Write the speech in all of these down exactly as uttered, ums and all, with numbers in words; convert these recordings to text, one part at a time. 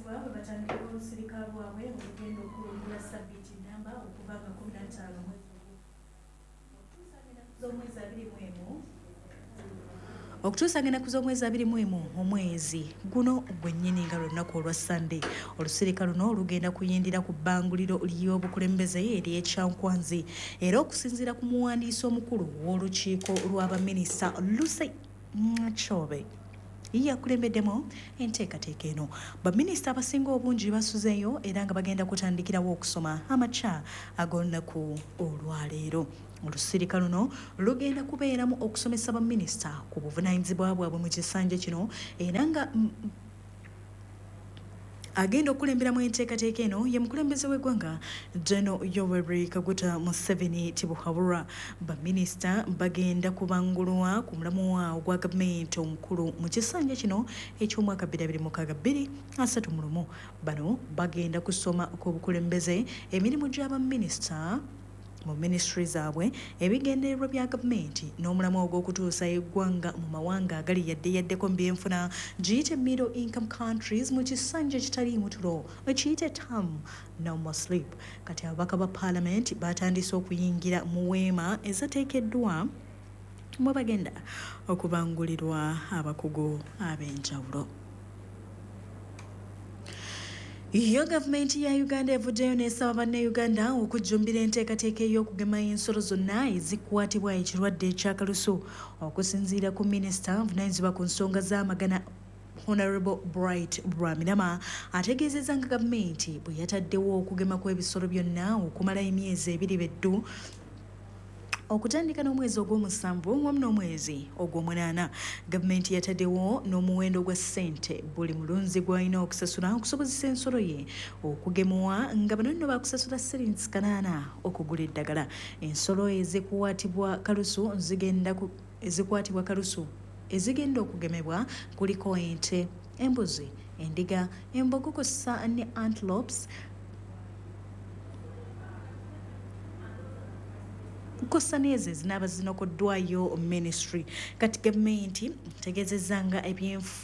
Okusomesebwa bwe batandika olusirika lwabwe olugenda okulungula sabbiiti namba okuva nga kkumi na ttaano z'omwezi abiri mu emu okutuusa ng'ennaku z'omwezi abiri mu emu omwezi guno gwennyini nga lunaku olwa Ssande. Olusirika luno lugenda kuyindira ku bbanguliro ly'obukulembeze ery'Ekyankwanzi, era okusinziira ku muwandiisi omukulu w'olukiiko lw'abaminisita Lucy Nakyobe yakulembeddemu enteekateeka eno. Baminisita abasinga obungi basuzeeyo era nga bagenda kutandikirawo okusoma amakya ag'olunaku olwaleero. Olusirika luno lugenda kubeeramu okusomesa baminisita ku buvunaanyizibwa bwabwe mu kisanja kino, era nga agenda okukulemberamu enteekateeka eno ye mukulembeze w'eggwanga General Yoweri Kaguta Museveni Tibuhaburwa. Baminisita bagenda kubangulwa ku mulamwa ogwa gavumenti omukulu mu kisanja kino eky'omwaka bbiri abiri mukaaga bbiri asatu mu lumu. Bano bagenda kusoma ku bukulembeze, emirimu gy'abaminisita mu minisitule zaabwe, ebigendererwa bya gavumenti n'omulamwa ogw'okutuusa eggwanga mu mawanga agali yadde yaddeko mu byenfuna, giyite middle income countries, mu kisanja ekitaliimu tulo, kiyite term no more sleep. Kati ababaka ba paalamenti batandise okuyingira mu weema ezateekeddwa mwe bagenda okubangulirwa abakugu ab'enjawulo. Yo gavumenti ya Uganda evuddeyo n'esaba bannayuganda okujjumbira enteekateeka ey'okugema ensolo zonna ezikwatibwa ekirwadde eky'akalusu. Okusinziira ku minisita avunaanyizibwa ku nsonga z'amagana Honorable Bright Rwamirama, ategeezezza nga gavumenti bwe yataddewo okugema kw'ebisolo byonna okumala emyezi ebiri beddu, okutandika n'omwezi ogw'omusanvu wamu n'omwezi ogw'omunaana. Gavumenti yataddewo n'omuwendo gwa ssente buli mulunzi gw'alina okusasula okusobozesa ensolo ye okugemwa, nga bano nno bakusasula siringi kanaana okugula eddagala. Ensolo ezikwatibwa kalusu zigenda ezikwatibwa kalusu ezigenda okugemebwa kuliko ente, embuzi, endiga, embogo kw'ossa ne antelopes kw'ossa n'ezo ezinaaba zinokoddwayo ministry. Kati gavumenti tegeezezza nga ebyenfu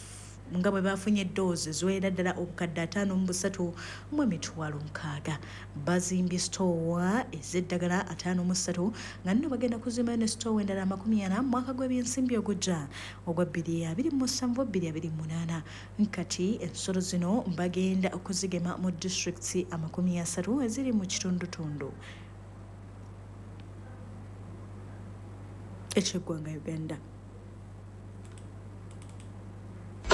nga bwe bafunye eddoozi ziwerera ddala obukadde ataano mu busatu mu emitwalo nkaaga. Bazimbye sitoowa ez'eddagala ataano mu ssatu, nga nno bagenda kuzimbayo ne sitoowa endala amakumi ana mu mwaka gw'ebyensimbi ogujja ogwa bbiri abiri mu musanvu bbiri abiri mu munaana. Kati ensolo zino bagenda okuzigema mu disitulikiti amakumi asatu eziri mu kitundutundu ekyeggwanga Uganda.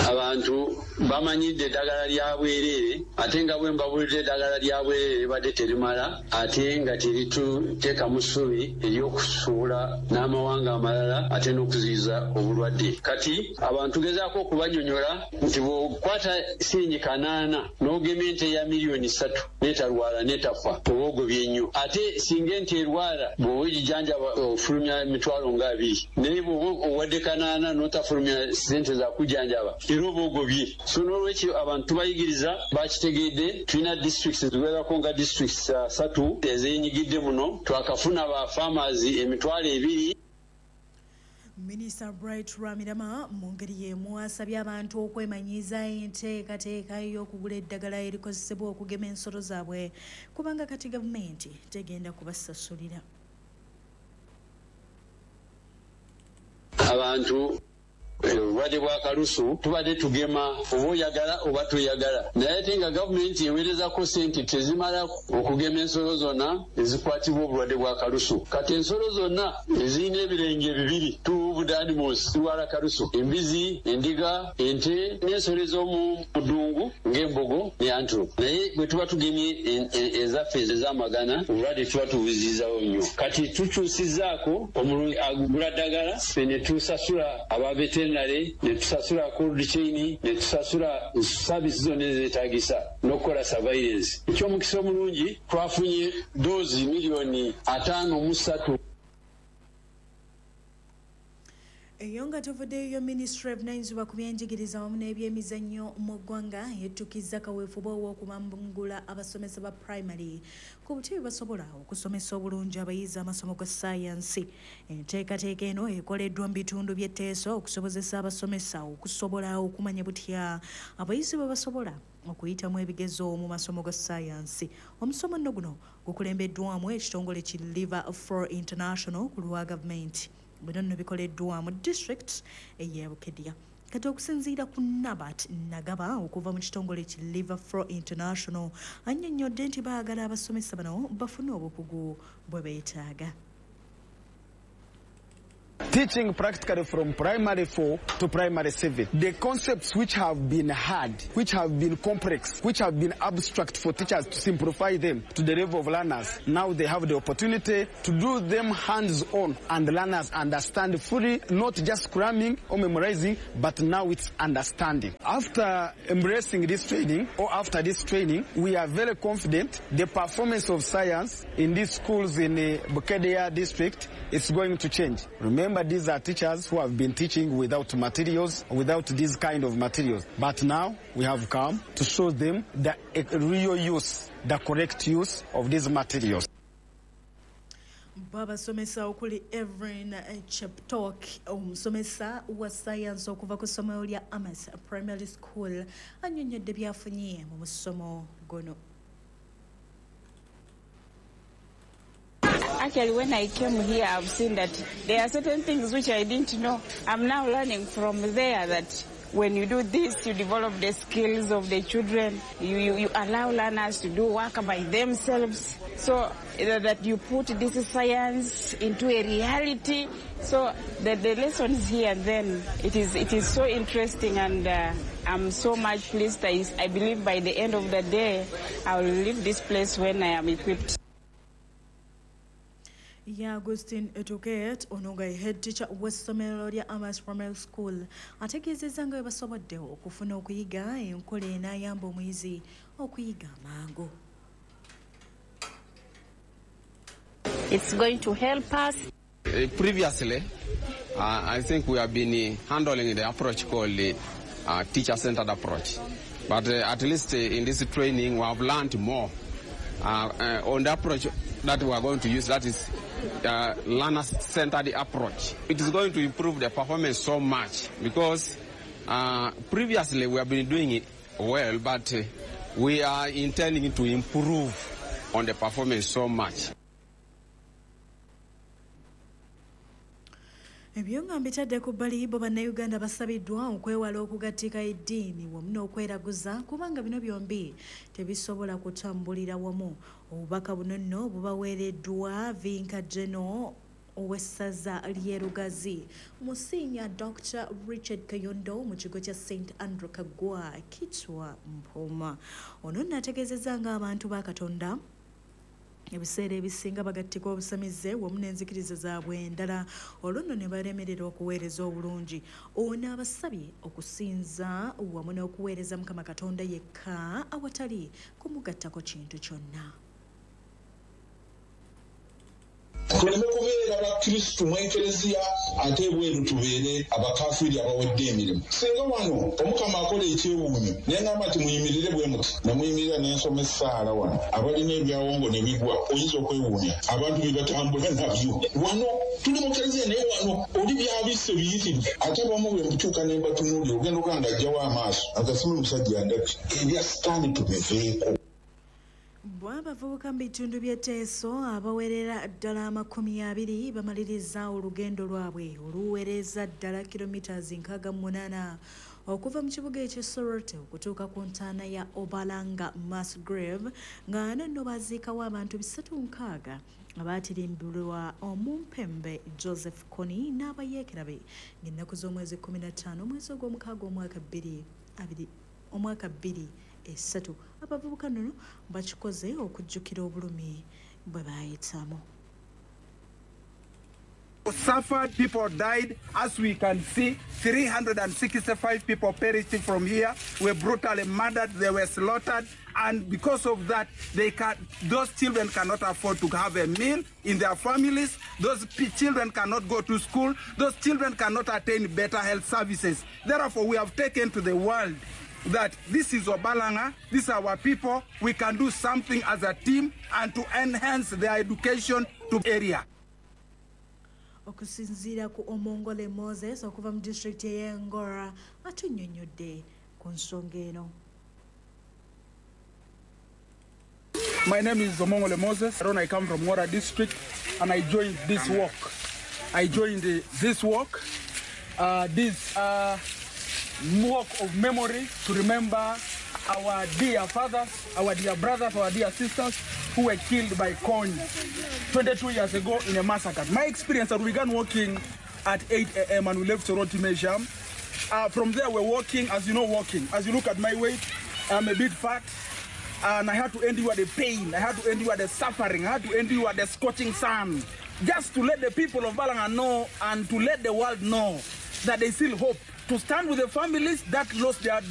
Abantu bamanyidde eddagala lya bwereere, ate nga bwe mbabulidde eddagala lya bwereere libadde terimala, ate nga terituteekamu ssuubi ery'okusuula n'amawanga amalala, ate n'okuziyiza obulwadde. Kati abantu tugezaako okubanyonyola nti bw'okwata siringi kanaana n'ogema ente ya miliyoni ssatu n'etalwala n'etafa, oba ogobye nnyo. Ate singa ente erwala, bw'oba ogijanjaba ofulumya emitwalo nga abiri, naye bw'oba owadde kanaana n'otafulumya ssente za kujjanjaba, era oba ogobye. So n'olwekyo abantu tubayigiriza, bakitegedde. Tulina disitulikiti ziwerako nga disitulikiti ssatu ezeenyigidde muno. Twakafuna ba farmers emitwalo ebiri. Minisita Bright Rwamirama mu ngeri y'emu asabye abantu okwemanyiiza enteekateeka y'okugula eddagala erikozesebwa okugema ensolo zaabwe, kubanga kati gavumenti tegenda kubasasulira. Abantu obulwadde bwa kalusu tubadde tugema oba oyagala oba toyagala, naye ate nga gavumenti eweerezako ssente tezimala okugema ensolo zonna ezikwatibwa obulwadde bwa kalusu. Kati ensolo zonna ezirina ebirenge bibiri, two hoofed animals, zirwala kalusu: embizi, endiga, ente n'ensolo ez'omu ddungu ng'embogo ne antelope. Naye bwe tuba tugemye ezaffe ez'amagana, obulwadde tuba tubuziyizawo nnyo. Kati tukyusizzaako, omulunzi agula ddagala, ffe ne tusasula aba veterinary, ne tusasula cold chain, ne tusasula service zonna ezeetaagisa n'okukola surveillance. Ekyomukisa omulungi, twafunye doozi miliyoni ataano mu ssatu. Eyo nga tuvuddeyo, minisitule evunaanyizibwa ku byenjigiriza wamu n'ebyemizannyo mu ggwanga yettukizza kaweefube ow'okubangula abasomesa ba primary ku buti bwe basobola okusomesa obulungi abayizi amasomo ga ssaayansi. Enteekateeka eno ekoleddwa mu bitundu by'etteeso okusobozesa abasomesa okusobola okumanya butya abayizi bwe basobola okuyitamu ebigezo mu masomo ga ssaayansi. Omusomo nno guno gukulembeddwamu ekitongole ki Liver for International ku lwa gavumenti. Bino nno bikoleddwa mu district ey'e Bukedea. Kati okusinziira ku Nabat Nagaba okuva mu kitongole ki Liver for International, annyonnyodde nti baagala abasomesa bano bafune obukugu bwe beetaaga. Teaching practically from primary four to primary seven. The concepts which have been hard, which have been complex, which have been abstract for teachers to simplify them to the level of learners, now they have the opportunity to do them hands-on, and learners understand fully, not just cramming or memorizing, but now it's understanding. After embracing this training, or after this training, we are very confident the performance of science in these schools in the Bukedea district is going to change. Remember, these are teachers who have been teaching without materials, without these kind of materials. But now we have come to show them the real use, the correct use of these materials. Bo abasomesa okuli Evelyn Cheptok, omusomesa wa science okuva ku ssomero lya Amas Primary School, annyonnyodde byafunye mu musomo guno. Actually, when I came here, I've seen that there are certain things which I didn't know. I'm now learning from there that when you do this, you develop the skills of the children. You, you, you allow learners to do work by themselves, so that you put this science into a reality. So the, the lessons here and then, it is, it is so interesting, and uh, I'm so much pleased. I, I believe by the end of the day, I will leave this place when I am equipped. Ya Agustin Etuket, ono nga ye head teacher w'essomero lya Amas Primary School, ategeezezza nga bwe basobodde okufuna okuyiga enkola enaayamba omuyizi okuyiga amangu. It's going to help us. Uh, previously, uh, I think we have been uh, handling the approach called the uh, teacher-centered approach. But uh, at least uh, in this training, we have learned more uh, uh, on the approach that we are going to use, that is uh, learner-centered approach. It is going to improve the performance so much because uh, previously we have been doing it well, but uh, we are intending to improve on the performance so much. Ebyo nga mbitadde ku bbali, bo bannayuganda basabiddwa okwewala okugattika eddiini wamu n'okweraguza, kubanga bino byombi tebisobola kutambulira wamu. Obubaka buno nno bubaweereddwa Vinka Geno ow'essaza ly'e Lugazi, Musinya Doctor Richard Kayondo mu kigo kya Saint Andrew Kaggwa Kitwa Mpoma. Ono nno ategeezezza ng'abantu ba Katonda ebiseera ebisinga bagattika obusamize wamu n'enzikiriza zaabwe endala, olwo nno ne balemererwa okuweereza obulungi. Ono abasabye okusinza wamu n'okuweereza Mukama Katonda yekka awatali kumugattako kintu kyonna. Tuleme kubeera bakristu mu ekereziya ate ebweru tubeere abakafiiri abawedde emirimu. Singa wano Omukama akola ekyewuunyo naye ngamba nti muyimirire bwe muti, ne muyimirira n'ensoma essaala wano, abalina ebyawongo ne bigwa, oyinza okwewuunya abantu bye batambula nabyo. Wano tuli mu kereziya naye wano oli byabisse biyitirivu, ate abamu bwe mbutuuka ne mbatunuulira ogenda okuba nga ajjawo amaaso agasima omusajja andabye. Ebya sitaani tubiveeko. Bo abavubuka mu bitundu by'Etteeso abawerera ddala amakumi abiri bamaliriza olugendo lwabwe oluweereza ddala kilometers nkaaga mu munaana okuva mu kibuga eky'e Soroti okutuuka ku ntaana ya Obalanga Mass Grave, nga nno baziikawo abantu bisatu nkaaga abaatirimbulwa omumpembe Joseph Kony n'abayeekera be ng'ennaku z'omwezi kkumi na ttaano omwezi ogw'omukaaga omwaka bbiri abiri omwaka bbiri esatu. Abavubuka nno bakikoze okujjukira obulumi bwe baayitamu. Suffered, people died. As we can see, three hundred sixty-five people perished from here, were brutally murdered, they were slaughtered, and because of that, they can, those children cannot afford to have a meal in their families, those children cannot go to school, those children cannot attain better health services. Therefore, we have taken to the world that this is Obalanga, these are our people, we can do something as a team and to enhance their education to area. Okusinziira ku Omongole Moses okuva mu disitulikiti ey'Engora atunnyonnyodde ku nsonga eno. My name is Omongole Moses. I come from Ngora district and I joined this walk. I joined this walk, uh, this uh, walk of memory to remember our dear fathers, our dear brothers, our dear sisters who were killed by Kony twenty-two years ago in a massacre. My experience that we began walking at eight A M and we left Soroti Mesham. Uh, from there we're walking, as you know, walking. As you look at my weight, I'm a bit fat. And I had to endure the pain, I had to endure the suffering, I had to endure the scorching sun, just to let the people of Balanga know and to let the world know that they still hope to stand with the families that lost their